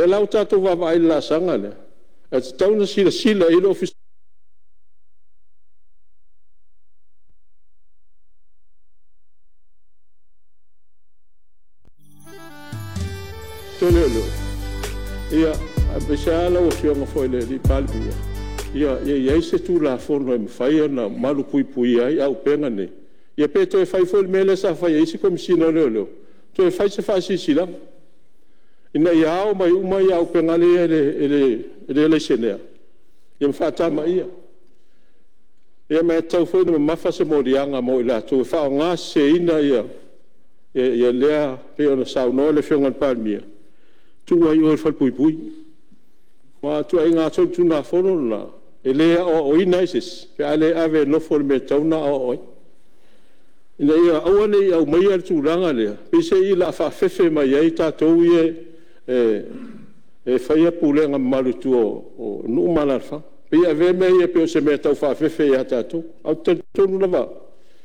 lea la ua tatou vaavaai i le laasaga lea, ae tatau ona silasila i ai le Ofisa o Leoleo, aemaise lava lau Afioga foi i le Palemia, ia i ai se Tulafono e mafai ona malupuipuia ai auupega nei, ia pe toe fai foi le mea lea sa fai e isi Komesina o Leoleo, toe fai se faasilasilaga, ina ia ao mai uma auupega ia e le laisenea ma faatamaia. Ia ma e tatau foi ona mamafa se moliaga mo i latou e faaaogaseseina lea… e pei ona saunoa le Afioga i le Palemia, tuu ai i o i le falepuipui. Aua o ituaiga solitulafono na, e le aoaoina ai se isi pe a le ave e nofo i le mea e tatau ona aoao ai, ina ia aua ne i aumaia le tulaga lea, peiseai o le a faafefe mai ai tatou ia e faia pulega mamalu i tua o nuu ma alaalafaga. E pei e avea mea ia pei o se mea e tau faafefe ia tatou. Ae ou te talitonu lava au,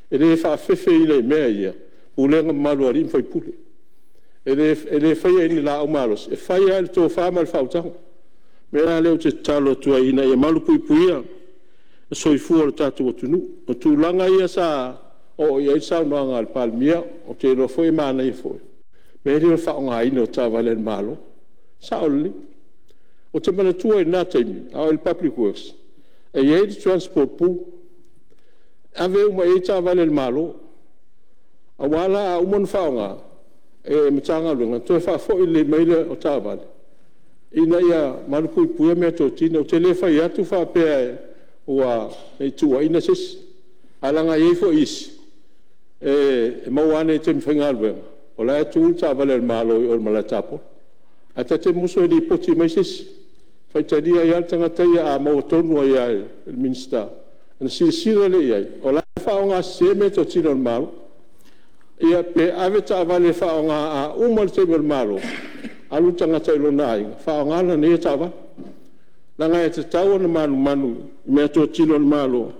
e le faafefeina i mea ia pulega mamalu a alii ma faipule. E le faia i ni laau malosi, e fai lava i le tofa ma le faautaga. O le mea la lea ou te tatalo atu ai ina ia malupuipuia le soifua o le tatou atunuu. O tulaga ia sa oo i ai le saunoaga a le Palemia, ou te iloa foi e manaia foi, le mea lea o le faaaogaina o taavale a le Malo. E sao lelei. Ou te manatua i lena taimi a o i le Public Works, e i ai le transport pool, e ave uma i ai taavale a le Malo, aua la a uma ona faaaoga e le Matagaluega, ona toe faafoi lelei mai lea o taavale ina ia malupuipuia meatotino. Ou te le fai atu faapea ne i tuuaiina se isi, ae leaga e i ai foi isi e maua ane i taimi faigaluega o la e tu le taavale a le Malo i o i le malae tapolo. Ae ta te musu e lipoti mai se isi, e faitalia ai lava le tagata ia a maua tonu ai lava e le Minisita, ona silasila lea i ai o la e faaaogasese meatotino a le Malo. Ia pe ave taavale e faaaoga a uma le taimi o le Malo, alu le tagata i lona aiga faaaoga lana ia taavale. Leaga e tatau ona manumanu i meatotino a le Malo,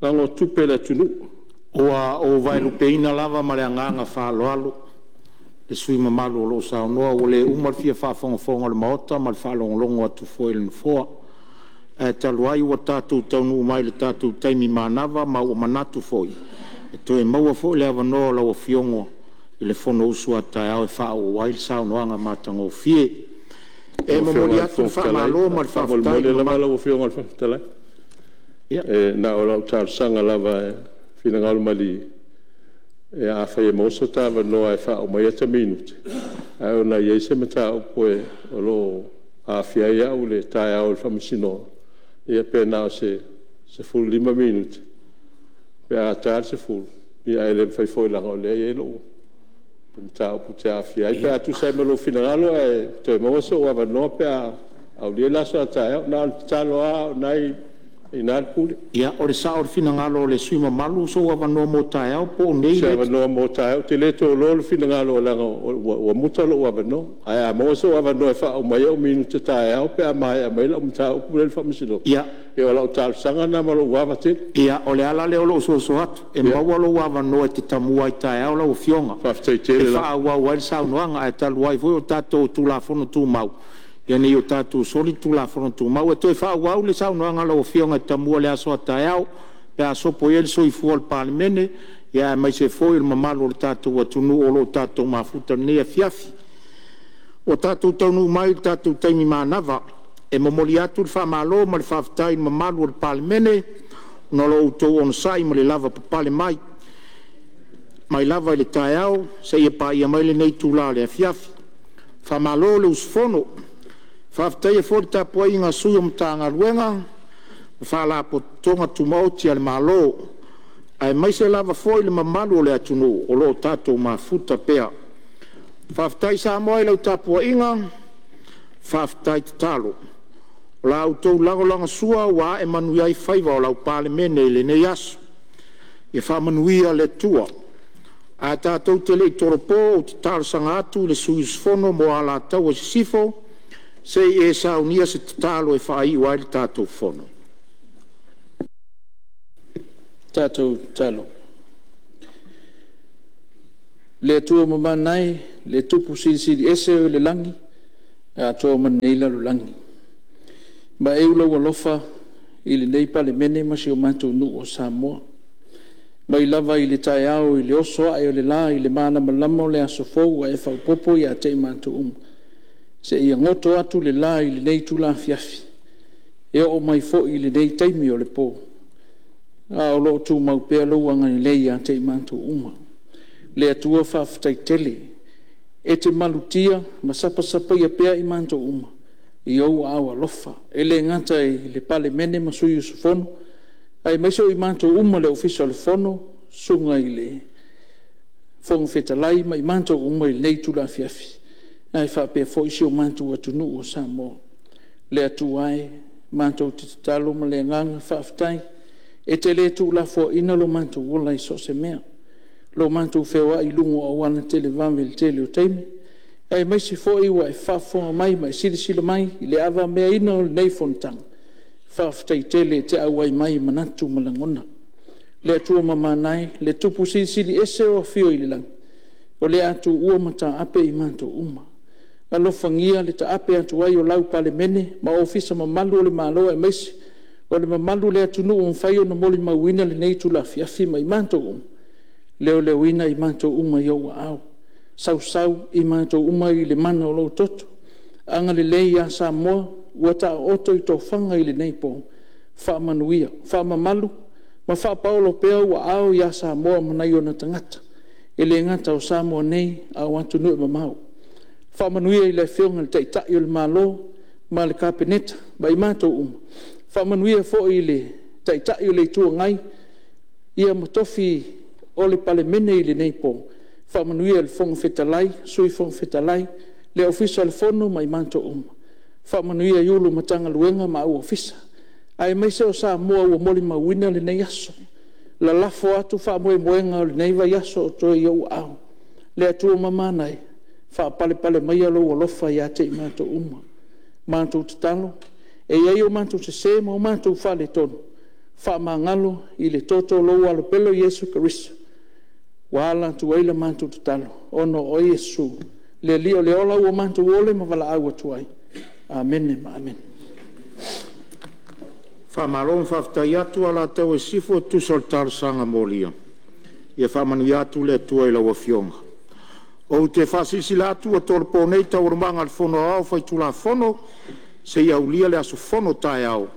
leaga o tupe a le atunuu. Ua ou vaelupeina lava ma le agaga faaaloalo le sui usufono mamalu o lo o saunoa. Ua le uma le fia faafogafoga o le Maota ma le faalogologo atu foi a le Nofoa. Ae talu ai ua tatou taunuu mai i le tatou taimi manava, ma ua manatu foi e toe maua foi le avanoa o lau Afioga i le Fonousu a taeao e faaauau ai le saunoaga matagofie. E Lau momoli Afioga i le atu le Fofoga Fetalai, faamalo ma le faafetai i faamolemole le lava mamalu. lau Afioga i le Fofoga Fetalai. Ia. E na o lau talosaga lava e finagalo malie, afai e maua so ta avanoa e faauma ai ata minute, ae ona e i ai se mataupu o lo o aafia ai au i le taeao i le Faamasinoga, ia pe na o se 15 minute pe a ta le 10, ae le mafai foi leaga o lea e i ai lou mataupu ou te aafia ai. Pe a tusa ai ma lou finagalo ae toe maua sou avanoa pe a aulia le aso a taeao. Na ona tatalo lava o lena e i ina le pule. Ia, o le sao o le finagalo o le sui usufono mamalu o sou avanoa mo taeao po o nei O se lea e te… avanoa mo taeao. Ou te le toloa le finagalo leaga ua muta lou avanoa. Ae a maua sou avanoa e faauma ai ou minute taeao pe a maea mai lau mataupu lea i le Faamasinoga, ia o lau talosaga lena ma lou ava tele. Ia, o le ala lea o lou soso atu, e maua lou avanoa e te tamua ai taeao lau Afioga Faafetai e tele lava. faaauau ai le saunoaga. Ae talu ai foi o tatou o Tulafono Tumau, ia ne i o tatou soli le Tulafono Tumau. E toe faaauau le saunoaga a lau Afioga e te tamua i le aso a taeao pe a sopo ia le soifua o le Palemene, aemaise foi o le mamalu o le tatou atunuu o lo o tatou mafuta i lenei afiafi. Ua tatou taunuu mai i le tatou taimi manava, e momoli atu le faamalo ma le faafetai i le mamalu o le Palemene ona o lo outou onosai ma le lavapapale mai, mai lava i le taeao seia paia mai lenei itula o le afiafi. Faamalo le usufono. E faafetaia foi le tapuaiga a sui o Matagaluega ma Faalapotopotoga Tumaoti a le Malo, aemaise lava foi le mamalu o le atunuu o lo o tatou mafuta pea. Faafetai Samoa i lau tapuaiga, faafetai tatalo. O la outou lagolagosua ua ae manuia ai faiva o lau Palemene i lenei aso. Ia faamanuia le Atua. Ae tatou te le i tolopo, ou te talosaga atu i le sui usufono mo Alataua Sisifo se i e saunia se tatalo e faaiu ai le tatou fono. Le Atua Mamana e, le Tupu Silisili Ese o i le lagi atoa ma lenei lalolagi. Vaeu lou alofa i lenei Palemene ma si o matou nuu o Samoa, mai lava i le taeao i le oso ae o le la i le malamalama o le aso fou ua e faaopoopo ia te i matou uma, seia goto atu le la i lenei itula afiafi, e oo mai foi i lenei taimi o le po, a o lo o tumau pea lou agalelei ia te i matou uma. Le Atua faafetai tele, e te malutia ma sapasapaia pea i matou uma i ou aao alofa. E le gata i le Palemene ma sui usufono, aemaise o i matou uma le Ofisa o le Fono, susuga i le Fofoga Fetalai ma i matou uma i lenei itula afiafi, ae faapea foi si o matou atunuu o Samoa. Le Atua e, matou te tatalo ma le agaga faafetai, e te le tuulafoaiina lo matou ola i so o se mea, lo matou feoai i luga o auala televavave i le tele o taimi, aemaise foi ua e faafofoga mai ma e silasila mai i le avameaina o lenei fonotaga. Faafetai tele e te auai mai i manatu ma lagona. Le Atua mamana e, le Tupu Silisili Ese o afio i le lagi, o le a tuua ma taape i matou uma. Alofagia le taape atu ai o lau Palemene ma Ofisa mamalu o le Malo aemaise o le mamalu o le atunuu ua mafai ona molimauina lenei itula afiafi ma i matou uma, leoleoina i matou uma i ou aao, sausau i matou uma i le mana o lou toto. Agalelei ia Samoa ua taoto i tofaga i lenei po, faamanuia, faamamalu ma faapaolo pea ou aao ia Samoa ma nai ona tagata, e le gata o Samoa nei a o atunuu e mamao. Faamanuia i le Afioga i le Taitai o le Malo ma le Kapeneta ma i matou uma, faamanuia foi i le Taitai o le Itu Agai ma tofi o le Palemene i lenei po, faamanuia i le Fofoga Fetalai, Sui Fofoga Fetalai, le Ofisa o le Fono ma i matou uma. Faamanuia i Ofisa Sili o Pulega o Matagaluega ma au Ofisa, aemaise o Samoa ua molimauina lenei aso. Lalafo atu faamoemoega o lenei vaiaso o totoe i ou aao. Le Atua mamana e, faapalepale maia lou alofa ia te i matou uma. Matou tatalo, e i ai o matou sese ma o matou faaletonu, faamagalo i le toto o lou Alo pele o Iesu Keriso ua ala atu ai la matou tatalo, ona o oe Iesu le Alii o le ola ua matou ole ma valaau atu ai. Amene ma amene. Faamalo ma faafetai atu Alataua i Sisifo e tusa o le talosaga molia. Ia faamanuia atu le Atua i lau Afioga. Ou te faasilasila atu ua tolopo nei Taualumaga a le Fono Aoao Faitulafono seia aulia le aso fono taeao.